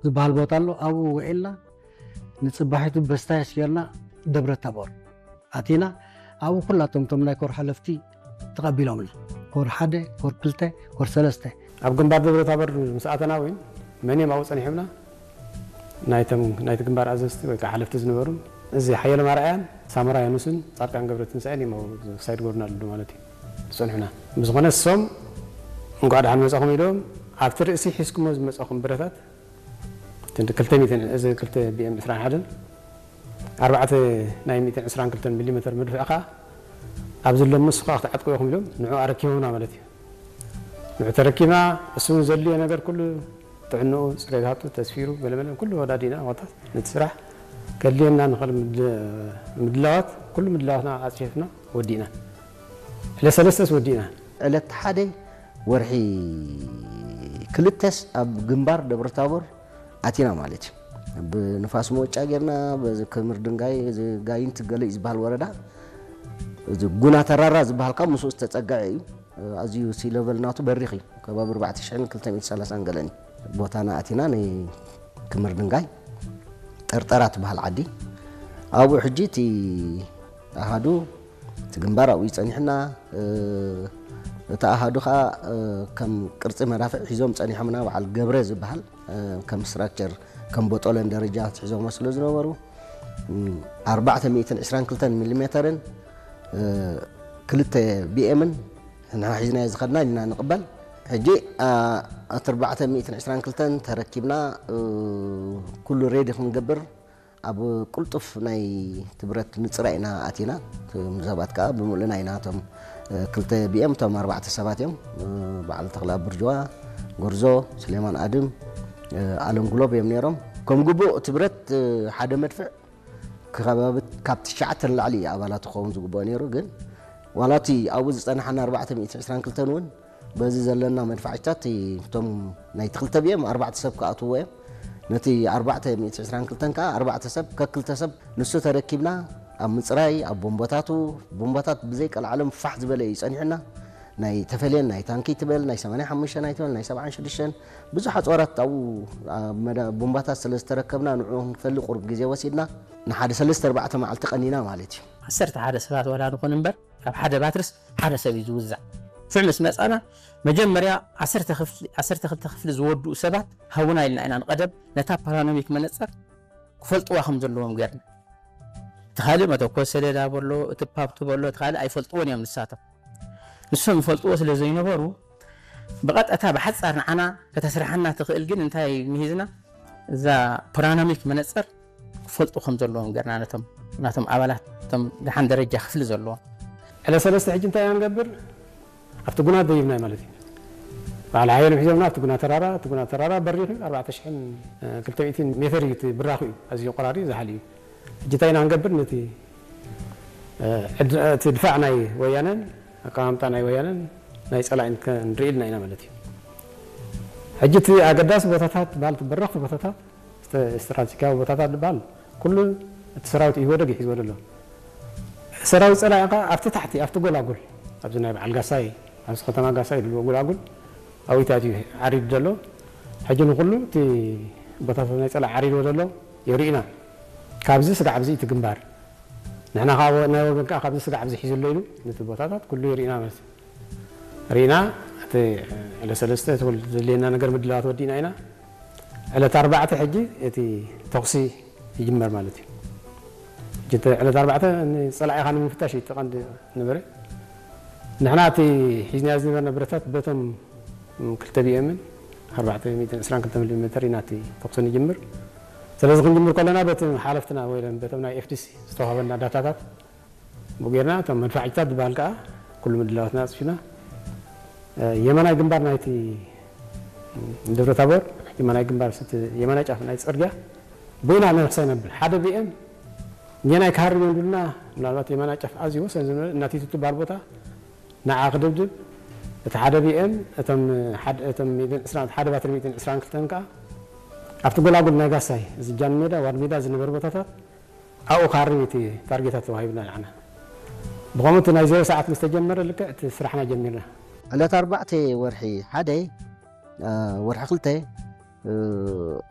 ዝበሃል ቦታ ኣሎ። ኣብኡ ውዒልና ንፅባሒቱ በስታያስ ጌርና ደብረ ታቦር ኣቲና። ኣብኡ ኩላቶም እቶም ናይ ኮር ሓለፍቲ ተቐቢሎምና፣ ኮር ሓደ፣ ኮር ክልተ፣ ኮር ሰለስተ። ኣብ ግንባር ደብረ ታቦር ምስ ኣተና እውን መን እዮም ኣብኡ ጸኒሖምና? ናይቶም ናይቲ ግንባር ኣዘዝቲ ወይ ከዓ ሓለፍቲ ዝነበሩ እዚ ሓየሎም ኣርኣያን ሳሞራ ያኑስን ጻድቃን ገብረትንሳኤን እዮም ኣብኡ ሳይድ ጎርና ኣለዉ ማለት እዩ ዝጸንሑና። ብዝኾነ እሶም እንኳዕ ደሓን መጻኹም ኢሎም ኣብቲ ርእሲ ሒዝኩሞ ዝመጻኹም ብረታት ክንዲ ክልተ ሚእትን እዚ ክልተ ቢኤም ዕስራን ሓደን ኣርባዕተ ናይ ሚእትን ዕስራን ክልተን ሚሊ ሜተር መድፍዕ ከዓ ኣብዚ ሎሚ ንስኻ ክትዓጥቁ ኢኹም ኢሎም ንዑ ኣረኪቦምና ማለት እዩ። ንዑ ተረኪብና እሱ እውን ዘድልዮ ነገር ኩሉ ጥዕንኡ፣ ፅሬታቱ፣ ተስፊሩ፣ ገለመለ ኩሉ ወዳዲና ወታት ነቲ ስራሕ ከድልየና ንኽእል ምድ- ምድላዋት ኩሉ ምድላዋትና ኣፅፊፍና ወዲእና። ዕለት ሰለስተስ ወዲእና። ዕለት ሓደ ወርሒ ክልተስ ኣብ ግንባር ደብረታቦር ኣቲና ማለት እዩ። ብንፋስ መወጫ ጌርና በዚ ክምር ድንጋይ እዚ ጋይንት ገለ እዩ ዝበሃል ወረዳ፣ እዚ ጉና ተራራ ዝበሃል ካብ ምስኡ ዝተጸግዐ እዩ። ኣዝዩ ሲ ለቨል ናቱ በሪኽ እዩ። ከባቢ ኣርባዕተ ሽሕን ክልተ ሚእትን ሰላሳን ገለን እዩ። ቦታና ኣቲና ናይ ክምር ድንጋይ ጠርጠራ ትበሃል ዓዲ። ኣብኡ ሕጂ እቲ ኣሃዱ እቲ ግንባር ኣብኡ ጸኒሕና። እቲ ኣሃዱ ኸኣ ከም ቅርጺ መዳፍዕ ሒዞም ጸኒሖምና። በዓል ገብረ ዝበሃል ከም ስትራክቸር ከም ቦጦለን ደረጃ ሒዞሞ ስለ ዝነበሩ ኣርባዕተ ሚእትን ዕስራን ክልተን ሚሊ ሜተርን ክልተ ቢኤምን ንሕና ሒዝናዮ ዝኸድና ኢልና ንቕበል። ሕጂ እቲ ኣርባዕተ ሚእትን ዕስራን ክልተን ተረኪብና ኩሉ ሬዲ ክንገብር ኣብ ቅልጡፍ ናይ ትብረት ንፅራ ኢና ኣቲና። እቶም ሰባት ከዓ ብምሉእና ኢና። እቶም ክልተ ቢኤም እቶም ኣርባዕተ ሰባት እዮም። በዓል ተኽላ ብርጅዋ፣ ጎርዞ፣ ስሌማን ኣድም፣ ኣለም ጉሎብ እዮም ነይሮም። ከም ግቡእ ትብረት ሓደ መድፍዕ ከባቢ ካብ ትሽዓተ ንላዕሊ እዩ ኣባላት ክኸውን ዝግብኦ ነይሩ። ግን ዋላ እቲ ኣብኡ ዝፀናሓና ኣርባዕተ ሚእትን ዕስራን ክልተን እውን በዚ ዘለና መድፋዕታት እቶም ናይ ትኽልተ ቢኤም ኣርባዕተ ሰብ ክኣትውዎ እዮም። ነቲ ኣርባዕተ ሚእቲ ዕስራን ክልተን ከዓ ኣርባዕተ ሰብ ከክልተ ሰብ ንሱ ተረኪብና ኣብ ምፅራይ ኣብ ቦምቦታቱ ቦምቦታት ብዘይ ቀልዓለም ፋሕ ዝበለ እዩ ጸኒሑና። ናይ ተፈሌን ናይ ታንኪ ትበል ናይ ሰማንያ ሓሙሽተ ናይ ትበል ናይ ሰብዓን ሽዱሽተን ብዙሕ ኣፅዋራት ኣብኡ ኣብ መዳ- ቦምባታት ስለ ዝተረከብና ንዕኡ ክንፈሊ ቁሩብ ግዜ ወሲድና። ንሓደ ሰለስተ ኣርባዕተ መዓልቲ ቀኒና ማለት እዩ። ዓሰርተ ሓደ ሰባት ዋላ ንኹን እምበር ካብ ሓደ ባትርስ ሓደ ሰብ እዩ ዝውዛዕ። ፍዕ ምስ መጻና መጀመርያ ዓሰርተ ክፍሊ ዓሰርተ ክልተ ክፍሊ ዝወድኡ ሰባት ሃውና ኢልና ኢና ንቐደም ነታ ፓራኖሚክ መነጸር ክፈልጥዋ ከም ዘለዎም ገርና። እቲ ካልእ መተኮስ ሰሌዳ በሎ እቲ ፓፕቱ በሎ እቲ ካልእ ኣይፈልጥዎን እዮም ንሳቶም። ንሶም ይፈልጥዎ ስለ ዘይነበሩ ብቐጥታ ብሓጻር ንዓና ከተስርሓና ትኽእል ግን እንታይ ምሂዝና እዛ ፓራኖሚክ መነጸር ክፈልጡ ከም ዘለዎም ገርና ነቶም ናቶም ኣባላት እቶም ደሓን ደረጃ ክፍሊ ዘለዎም። ዕለ ሰለስተ ሕጂ እንታይ ኢና ንገብር? ኣብቲ ጉና ደይብና ማለት እዩ። በዓል ሓየሎም ሒዞምና ኣብቲ ጉና ተራራ እቲ ጉና ተራራ በሪኽ እዩ። ኣርባዕተ ሽሕን ክልተ ሚእትን ሜተር እዩ እቲ ብራኹ እዩ። ኣዝዩ ቆራሪ ዝሓል እዩ። ሕጂ እንታይ ኢና ክንገብር? ነቲ እቲ ድፋዕ ናይ ወያነን ኣቀማምጣ ናይ ወያነን ናይ ጸላኢን ክንርኢ ኢልና ኢና ማለት እዩ። ሕጂ እቲ ኣገዳሲ ቦታታት በሃል በረኽቲ ቦታታት ስትራቴጂካዊ ቦታታት ዝበሃል ኩሉ እቲ ሰራዊት ኢህወደግ ይሒዝዎ ዘሎ። ሰራዊት ጸላኢ ከ ኣብቲ ታሕቲ ኣብቲ ጎላጉል ኣብዚ ናይ በዓል ጋሳይ ኣብዚ ከተማ ጋሳይ ድልዎ ጎላጉል ኣብታት እዩ ዓሪዱ ዘሎ። ሕጂ ንኩሉ እቲ ቦታታት ናይ ጸላኢ ዓሪድዎ ዘሎ የርእዩና። ካብዚ ስጋዕ ኣብዚ እቲ ግንባር ንሕና ካብ ናይ ወገን ከዓ ካብዚ ስጋዕ ኣብዚ ሒዙ ኣሎ ኢሉ ነቲ ቦታታት ኩሉ የርእዩና ማለት እዩ። ርኢና እቲ ዕለት ሰለስተ እቲ ኩሉ ዘድልየና ነገር ምድላዋት ወዲእና ኢና። ዕለት ኣርባዕተ ሕጂ እቲ ተኹሲ ይጅመር ማለት እዩ። ሕጂ እቲ ዕለት ኣርባዕተ ንፀላኢኻ ንምፍታሽ እዩ እቲ ቀንዲ ነበረ። ንሕና እቲ ሒዝናዮ ዝነበርና ብረታት በቶም ክልተ ቢኤምን ኣርባዕተ ሚእትን ዕስራን ክልተ ሚሊ ሜተር ኢና እቲ ተኹሲ ንጅምር። ስለዚ ክንጅምር ከለና በቲ ሓለፍትና ወይ በቶም ናይ ኤፍዲሲ ዝተዋሃበና ዳታታት ብኡ ጌርና እቶም መድፋዕታት ዝበሃል ከዓ ኩሉ ምድላዋትና ኣፅፊና የማናይ ግንባር ናይቲ ደብረ ታቦር የማናይ ግንባር ስቲ የማናይ ጫፍ ናይ ፅርግያ ቦይና ነብሳ ነብል ሓደ ቢኤም ኘናይ ክሃርም እንዱልና ምናልባት የማናይ ጫፍ ኣዝዩ ወሰን ዝነበረ እናቲቱ ትበሃል ቦታ ንዓ ክድብድብ እቲ ሓደ ቢኤም እቶም ሓደ እቶም ሚእትን ዕስራን ሓደ ባትሪ ሚእትን ዕስራን ክልተን ከዓ ኣብቲ ጎላጉል ናይ ጋሳይ እዚ ጃን ሜዳ ዋድ ሜዳ ዝነበሩ ቦታታት ኣብኡ ክሃርም እቲ ታርጌታት ተዋሂብና ንዓና። ብኸምኡ እቲ ናይ ዜሮ ሰዓት ምስ ተጀመረ ልክዕ እቲ ስራሕና ጀሚርና። ዕለት ኣርባዕተ ወርሒ ሓደ ወርሒ ክልተ